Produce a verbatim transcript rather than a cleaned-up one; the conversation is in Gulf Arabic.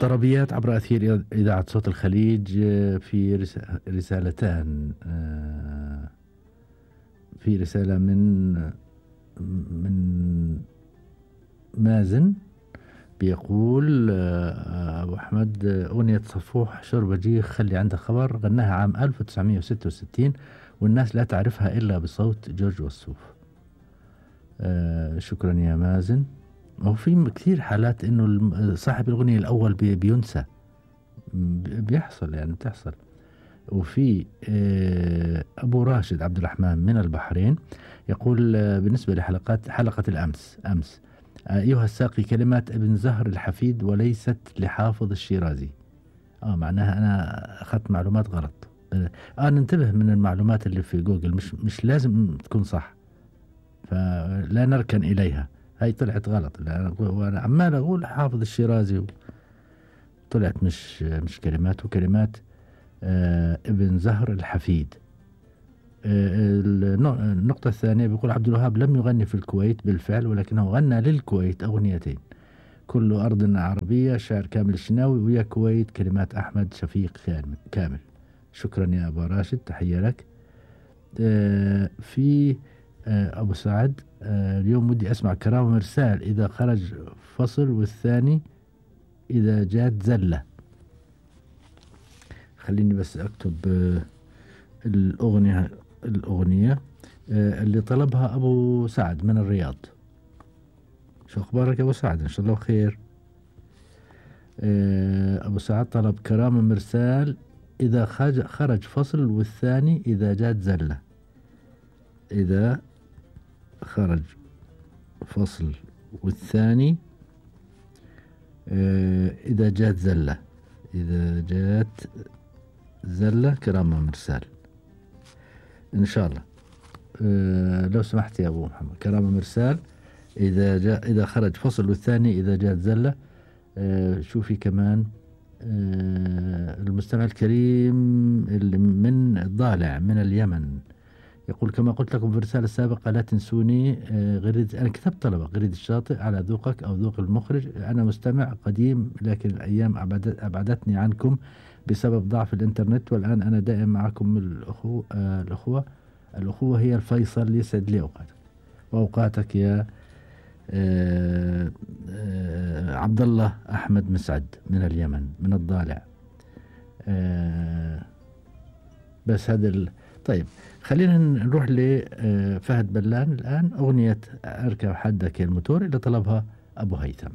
طربيات عبر أثير إذاعة صوت الخليج في رسالتان. في رسالة من من مازن بيقول أبو أحمد أغنية صفوح شربجي خلي عندك خبر غناها عام ألف وتسعمية وستة وستين والناس لا تعرفها إلا بصوت جورج وسوف. شكرا يا مازن. وفي كثير حالات إنه صاحب الأغنية الأول بينسى، بيحصل يعني بتحصل. وفي أبو راشد عبد الرحمن من البحرين يقول بالنسبة لحلقات حلقة الأمس أمس أيها الساقي كلمات ابن زهر الحفيد وليست لحافظ الشيرازي. آه معناها أنا أخذت معلومات غلط. آه ننتبه من المعلومات اللي في جوجل، مش مش لازم تكون صح، فلا نركن إليها. هاي طلعت غلط، وأنا عمال أقول حافظ الشيرازي طلعت مش مش كلمات، وكلمات آه ابن زهر الحفيد. آه النقطة الثانية بيقول عبد الوهاب لم يغني في الكويت بالفعل، ولكنه غنى للكويت أغنيتين، كل أرض عربية شعر كامل الشناوي، ويا كويت كلمات أحمد شفيق كامل. شكرا يا أبو راشد، تحية لك. آه في آه أبو سعد آه اليوم ودي أسمع كرامة مرسال إذا خرج فصل والثاني إذا جات زلة. خليني بس أكتب آه الأغنية الأغنية آه اللي طلبها أبو سعد من الرياض. شو أخبارك أبو سعد؟ إن شاء الله خير. آه أبو سعد طلب كرامة مرسال إذا خرج فصل والثاني إذا جات زلة. إذا خرج فصل والثاني آه إذا جات زلة. إذا جات زلة كرامة مرسال إن شاء الله. آه لو سمحت يا أبو محمد، كرامة مرسال إذا جاء إذا خرج فصل والثاني إذا جات زلة. آه شوفي كمان آه المستمع الكريم اللي من الضالع من اليمن يقول كما قلت لكم في الرسالة السابقة لا تنسوني آه غريد. أنا كتبت طلبة غريد الشاطئ على ذوقك أو ذوق المخرج. أنا مستمع قديم لكن الأيام أبعدتني عنكم بسبب ضعف الإنترنت، والآن أنا دائم معكم الأخوة. آه الأخوة الأخوة هي الفيصل. يسعد لي أوقاتك وأوقاتك يا آه آه عبد الله أحمد مسعد من اليمن من الضالع. آه بس هذا ال... طيب خلينا نروح لفهد بلان الآن. أغنية أركب حدك الموتور اللي طلبها أبو هيثم.